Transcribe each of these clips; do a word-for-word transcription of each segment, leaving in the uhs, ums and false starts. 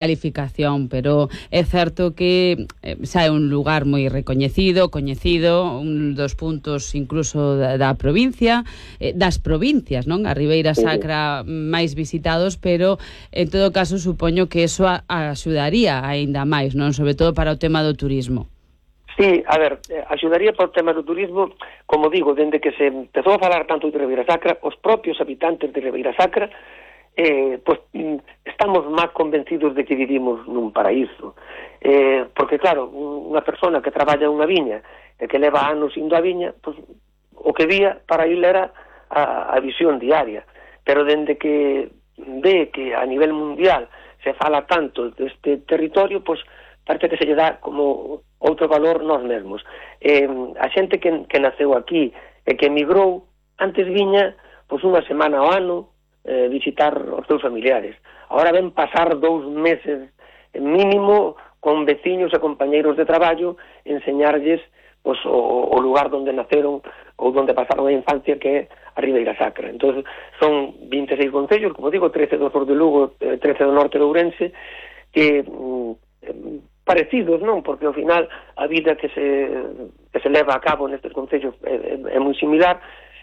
calificación, pero é certo que eh, xa é un lugar moi recoñecido, coñecido, un dos puntos incluso da, da provincia, eh, das provincias, non? A Ribeira Sacra máis visitados, pero en todo caso supoño que eso a, a axudaría aínda máis, non? Sobre todo para o tema do turismo. Sí, a ver, axudaría para o tema do turismo, como digo, dende que se empezou a falar tanto de Ribeira Sacra, os propios habitantes de Ribeira Sacra Eh, pues estamos máis convencidos de que vivimos nun paraíso, eh, porque claro, unha persona que traballa unha viña e que leva anos indo a viña, pues, o que vía para ir era a, a visión diaria, pero dende que ve que a nivel mundial se fala tanto deste territorio, pues parece que se lle dá como outro valor nós mesmos. Eh, a xente que, que naceu aquí e que emigrou, antes viña pues unha semana ao ano Eh, visitar os seus familiares. Ahora ven pasar dous meses mínimo con veciños e compañeiros de traballo, enseñarlles pues, o, o lugar onde naceron ou onde pasaron a infancia, que é a Ribeira Sacra. Entón, son vinte e seis concellos, como digo, trece do sur de Lugo, trece do norte de Ourense, que mm, parecidos, non? Porque ao final a vida que se, que se leva a cabo nestes concellos é, é, é moi similar,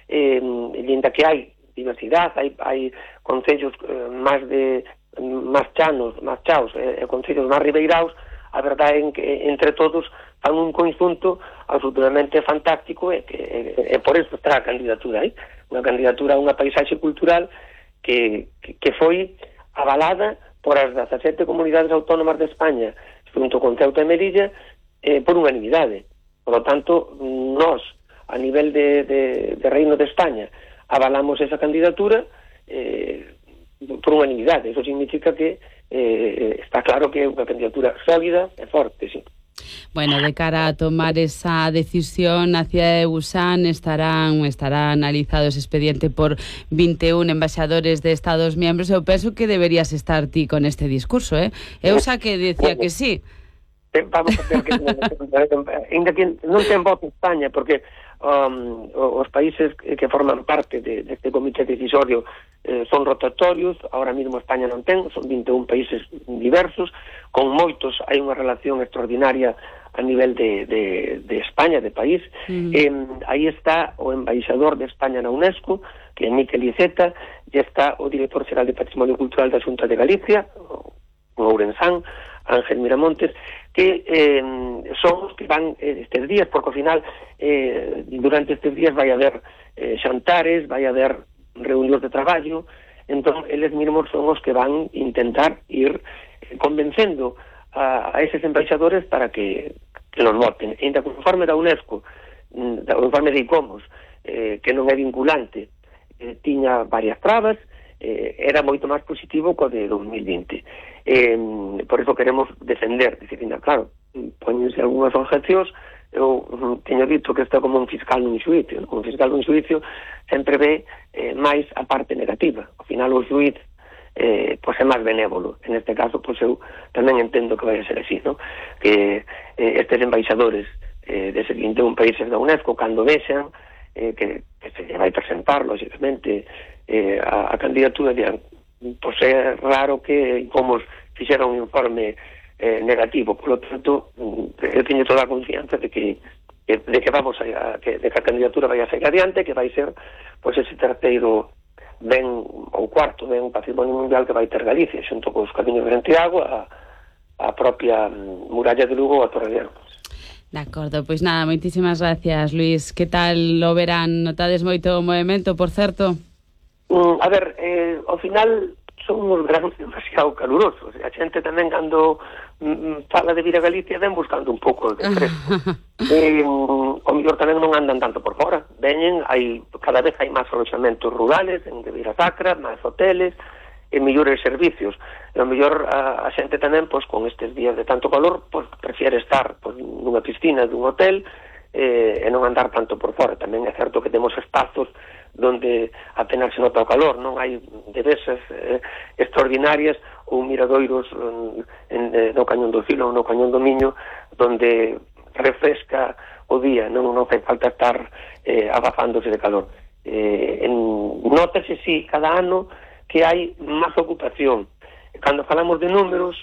eh, e ainda que hai diversidade, hai, hai concellos eh, máis de máis chanos, máis chaos, e eh, concellos máis ribeiraos, a verdade é que entre todos fan un conxunto absolutamente fantástico, e que e, e por eso está a candidatura aí, unha candidatura a unha paisaxe cultural que, que, que foi avalada por as dezasete comunidades autónomas de España, junto con Ceuta e Melilla, eh, por unanimidade. Por lo tanto, nós, a nivel de, de, de Reino de España, avalamos esa candidatura eh, por unanimidade. Eso significa que eh, está claro que é unha candidatura sólida e forte, sí. Bueno, de cara a tomar esa decisión, a cidade de Busan estarán estará analizado ese expediente por vinte e un embaixadores de Estados miembros. Eu penso que deberías estar ti con este discurso, eh? Eu xa que decía que sí. Vamos a ver que ainda que non ten voz en España, porque um, os países que forman parte de, deste comité decisorio eh, son rotatorios. Ahora mesmo España non ten, son vinte e un países diversos, con moitos hai unha relación extraordinaria a nivel de, de, de España, de país. Mm. Eh, aí está o embaixador de España na UNESCO, que é Miquel Iceta, e está o director xeral de Patrimonio Cultural da Xunta de Galicia, o Ourensán, Ángel Miramontes, que eh, son os que van eh, estes días, porque ao final eh, durante estes días vai haber eh, xantares, vai haber reunións de traballo. Entón eles mesmos son os que van intentar ir eh, convencendo a, a eses embaixadores para que, que los voten. E ainda conforme da UNESCO, da informe de ICOMOS, eh, que non é vinculante, eh, tiña varias trabas, eh, era moito máis positivo co de dos mil vinte. Eh, por eso queremos defender, decir, claro, poñense algunhas objecións. Eu uh, teño dito que está como un fiscal nun xuicio, ¿no? Un fiscal nun xuicio sempre ve eh, máis a parte negativa. Ao final o xuiz eh, pois é máis benévolo. En este caso, pois eu tamén entendo que vai a ser así, ¿no? Que eh, estes embaixadores eh, deses vinte e un países da UNESCO, cando vexan eh, que, que se vai presentar, lógicamente, eh, a, a candidatura, dirán, pois é raro que como fixera un informe eh, negativo. Por lo tanto, eu teño toda a confianza de que de que vamos a, que, de que a candidatura vai a seguir adiante, que vai ser pois ese terceiro ben ou cuarto ben patrimonio mundial que vai ter Galicia, xunto cos Camiños de Santiago, a, a propia muralla de Lugo, a Torre de Arcos. De acordo, pois nada, moitísimas gracias, Luís. Que tal lo verán? Notades moito movimento, por certo? Mm, a ver, eh, ao final son uns granos demasiado calurosos. A xente tamén, cando mm, fala de vir a Galicia, ven buscando un pouco de fresco. eh, o mellor tamén non andan tanto por fora. Veñen, hai, cada vez hai máis aloxamentos rurales en Ribeira Sacra, máis hoteles, e mellores servicios. E o mellor a, a xente tamén, pois, con estes días de tanto calor, pois, prefiere estar pois, nunha piscina dun hotel eh, e non andar tanto por fora. Tamén é certo que temos espazos donde apenas se nota o calor, non hai devesas eh, extraordinarias ou miradoiros en, en, no Cañón do Filo ou no Cañón do Miño, donde refresca o día, non, non fai falta estar eh, abafándose de calor. Eh, en, nótase, sí, cada ano que hai máis ocupación. Cando falamos de números,